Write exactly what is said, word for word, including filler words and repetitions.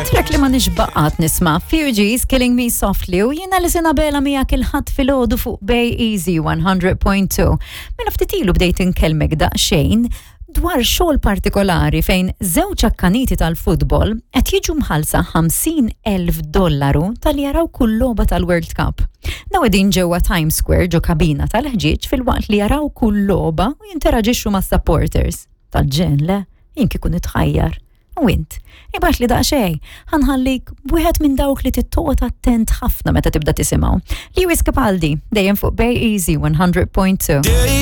Track li ma nixbaqat nisma' Fugees Killing Me Softly u jiena li sena bela miegħek il-Ħadd filgħodu fuq Bay Easy one hundred point two. Mela ftit ilu bdejt inkellmek daqsxejn dwar xogħol partikolari fejn żewġ akkaniti tal-futbol qed jiġu mħallsa ħamsin elf dollaru talli jaraw kull logħba tal-World Cup. Dawn qegħdin ġewwa Times Square ġo kabina tal-ħġieġ filwaqt li jaraw kull logħba u jinteraġixxu ma' supporters. Tal-ġenn, le? Jien kieku nitħajjar. U int, ibgħatli daqsxejn, ħa nħallik b'wieħed minn dawk li trid toqgħod attent ħafna meta tibda tisimgħu. Lewis Capaldi, dejjem fuq Bay Easy one hundred point two. Days